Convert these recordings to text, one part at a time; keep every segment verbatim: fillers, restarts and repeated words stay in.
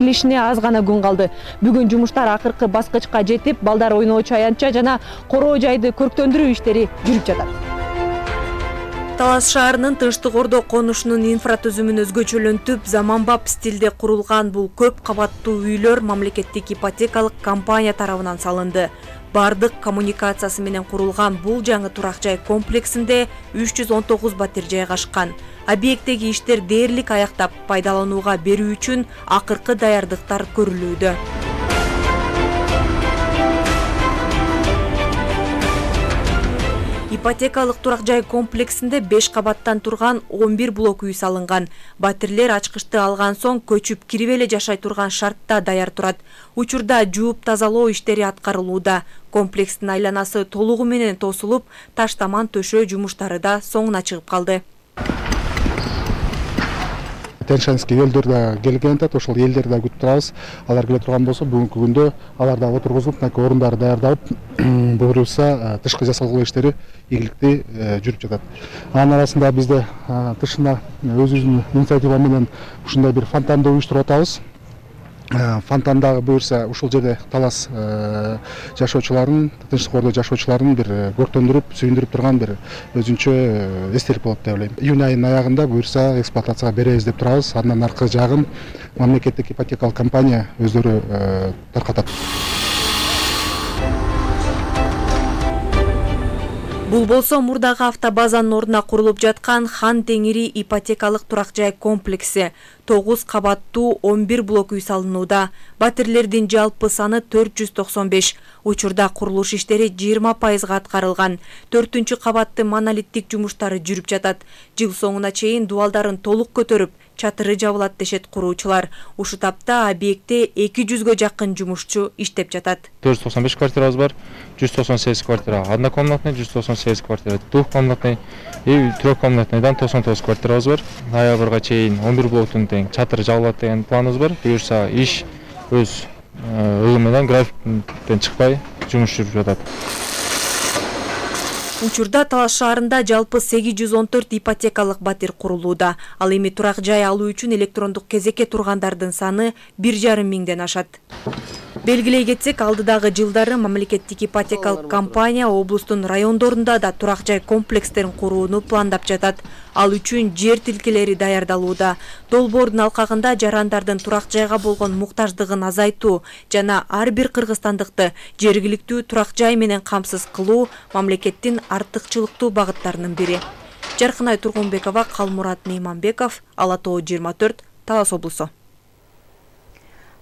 Илишине аз гана күн калды. Бүгүн жумуштар акыркы баскычка жетип, балдар ойноочу аянтча жана короо жайды көрктөндүрүү иштери жүрүп жатат. Талас шаарынын Тынчтык Ордо конушунун инфратүзүмүн өзгөчөлөнтүп, заманбап стилде курулган бул көп кабаттуу үйлөр мамлекеттик ипотекалык компания тарабынан салынды. Бардык коммуникациясы менен курулган бул жаңы турак жай комплексинде үч жүз он тогуз батир жайгашкан. Объекттеги иштер дээрлик аяктап, пайдаланууга берүү үчүн акыркы даярдыктар көрүлүүдө. Ипотекалык турак жай комплексинде беш кабаттан турган он бир блок үй салынган. Батирлер ачкычты алган соң көчүп кирип эле жашай турган шартта даяр турат. Учурда жууп тазалоо иштери аткарылууда. Комплекстин айланасы толугу менен тосулуп, таштаман төшөө жумуштары да соңуна чыгып калды. Теншанский элдер да келген атат, ошол элдерди да күтүп турабыз. Алар келе турган болсо, бүгүнкү күндө алар да отургузулуп, мынакей орундары даярдалып, буюрса тышкы жасалгылоо иштери ийгиликтүү жүрүп жатат. Анын арасында бизде тышына өзүбүздүн инициатива менен ушундай бир фонтанды уюштуруп атабыз. Фонтандагы буюрса ушул жерде талас жашоочуларын, Тынчтык Ордо жашоочуларын бир көрктөндүрүп, сүйүндүрүп турган бир өзүнчө эстелик болот деп ойлойм. Июнь айынын аягында буюрса эксплуатацияга беребиз деп турабыз. Андан аркы жагын мамлекеттик ипотекалык компания өздөрү таркатат. Бул болсо мурдагы автобазанын ордуна курулуп жаткан Хан Теңири ипотекалык турак жай комплекси. тогуз кабаттуу он бир блок үй салынууда. Батирлердин жалпы саны төрт жүз токсон беш. Учурда курулуш иштери жыйырма пайызга аткарылган. төртүнчү кабатты монолиттик жумуштары жүрүп жатат. Жыл соңуна чейин дубалдарын толук көтөрүп, чатыры жабылат дешет куруучулар. Ушу тапта объектте эки жүзгө жакын жумушчу иштеп жатат. төрт жүз токсон беш квартирабыз бар, жүз токсон сегиз квартира однокомнатный, жүз токсон сегиз квартира двухкомнатный и трехкомнатныйдан токсон тогуз квартирабыз бар. Ноябрга чейин он бир блоктун тең чатыры жабылат деген планыбыз бар. Буюрса иш өз ылым менен графиктен чыкпай жумуш жүрүп жатат. Учурда Талас шаарында жалпы сегиз жүз он төрт ипотекалык батир курулууда. Ал эми турак жай алуу үчүн электрондук кезекке тургандардын саны бир жарым миңден ашат. Белгилей кетсек, алдыдагы жылдары мамлекеттик ипотекалык компания облустун райондорунда да турак жай комплекстерин курууну пландап жатат. Ал үчүн жер тилкелери даярдалууда. Долбоордун алкагында жарандардын турак жайга болгон муктаждыгын азайтуу жана ар бир кыргызстандыкты жергиликтүү турак жай менен камсыз кылуу мамлекеттин артыкчылыктуу багыттарынын бири. Жаркынай Тургунбекова, Калмурат Мейманбеков, Ала Тоо жыйырма төрт, Талас облусу.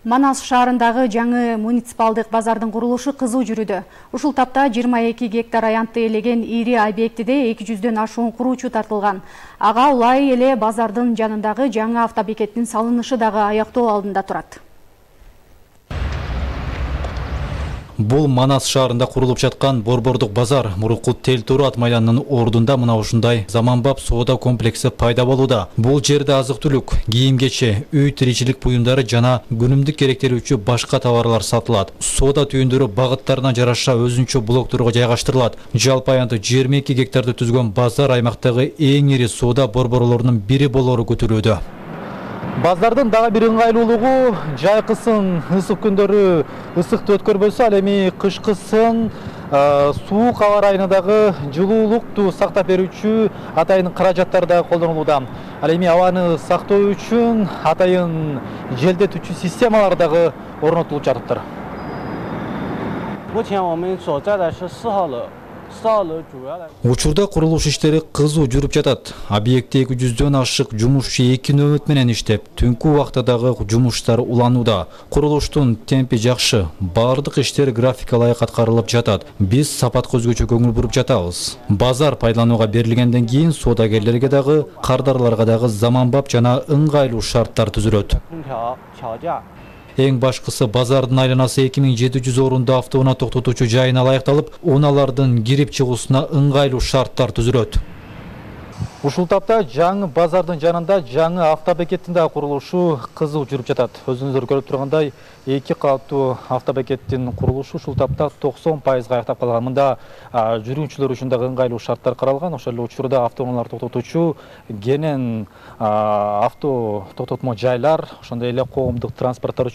Манас шаарындагы жаңы муниципалдык базардын курулушу кызуу жүрүүдө. Ушул тапта жыйырма эки гектар аянтты элеген ири объектиде эки жүздөн ашуун куруучу тартылган. Ага улай эле базардын жанындагы жаңы автобекеттин салынышы дагы аяктоо алдында турат. Бул Манас шаарында курулуп жаткан Борбордук базар мурунку Тел-Турат майланынын ордунда мына ушундай заманбап соода комплекси пайда болууда. Бул жерде азык-түлүк, кийим-кече, үй тиричилик буюмдары жана күнүмдүк керектелүүчү башка товарлар сатылат. Соода түйүндөрү багыттарына жараша өзүнчө блокторго жайгаштырылат. Жалпы аянты жыйырма эки гектарды түзгөн базар аймактагы эң ири соода борборлорунун бири болоору күтүлүүдө. Базардын дагы бир ыңгайлуулугу жайкысын ысык күндөрү ысыкты өткөрбөсө, ал эми кышкысын суук аба ырайына дагы жылуулукту сактап берүүчү атайын каражаттар дагы колдонулууда. Ал эми абаны сактоо үчүн атайын желдетүүчү системалар дагы орнотулуп жатыптыр. Учурда курулуш иштери кызуу жүрүп жатат. Объектте эки жүздөн ашык жумушчу эки нөбөт менен иштеп, түнкү убакта дагы жумуштар уланууда. Курулуштун темпи жакшы, бардык иштер графика ылайык аткарылып жатат. Биз сапатка өзгөчө көңүл буруп жатабыз. Базар пайдаланууга берилгенден кийин соодагерлерге дагы, кардарларга дагы заманбап жана ыңгайлуу шарттар түзүлөт. Эң башкысы базардын айланасы эки миң жети жүз орунду автоунаа токтотуучу жайына ылайыкталып, унаалардын кирип чыгуусуна ыңгайлуу шарттар түзүлөт. Ушул тапта жаңы базардын жанында жаңы автобекеттин да курулушу кызуу жүрүп жатат. Өзүңүздөр көрүп тургандай, эки кабаттуу автобекеттин курулушу ушул тапта токсон пайызга аяктап калган. Мында жүргүнчүлөр үчүн да ыңгайлуу шарттар каралган. Ошол эле учурда автоунаалар токтотуучу кенен авто токтотмо жайлар, ошондой эле коомдук транспорттор